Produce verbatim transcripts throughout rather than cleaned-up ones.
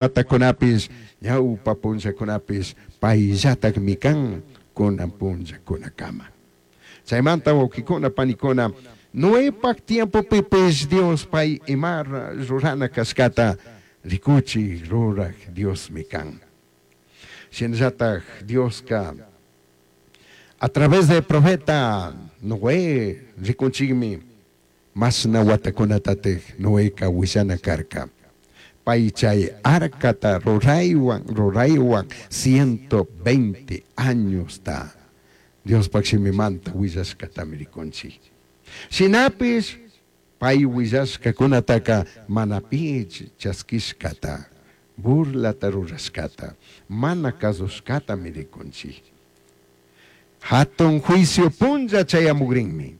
Watakunapis, ñawpa punllakunapis, payllatakmi kan kunan punllakunakama. Chaymanta wawqikuna panikuna, Noepak tiempopipis Dios pay ima rurana kashkata rikuchik ruraj Diosmi kan. Shinallatak Dioska a través del profeta Noé rikunchikmi mashna watakunatatik Noeka willana karka. Pay chay arcata ruraywan ruraywan ciento veinte añosta Diospak shimimanta willashkatami rikunchik. Shinapis pay willashkakunataka mana pi chaskishkata, burlata rurashkata, mana kasushkatami rikunchik. Hatun juicio punlla chayamugrinmi.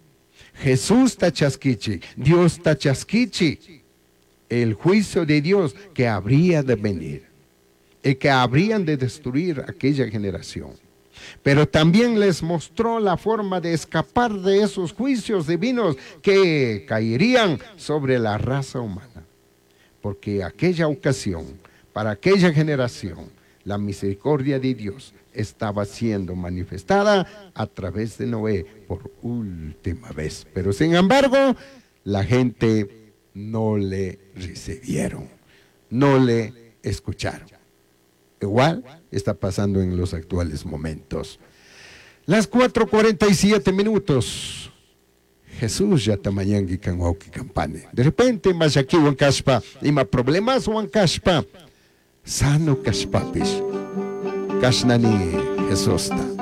Jesusta chaskichik, Diosta chaskichik. El juicio de Dios que habría de venir y que habrían de destruir aquella generación. Pero también les mostró la forma de escapar de esos juicios divinos que caerían sobre la raza humana. Porque aquella ocasión, para aquella generación, la misericordia de Dios estaba siendo manifestada a través de Noé por última vez. Pero sin embargo, la gente no le recibieron, no le escucharon. Igual está pasando en los actuales momentos. Las cuatro cuarenta y siete minutos. Jesús ya tamañangui kan wawqi kampani. De repente llakiwan kashpa, ima problemaswan kashpa, sano kashpapis, kashnani Jesusta.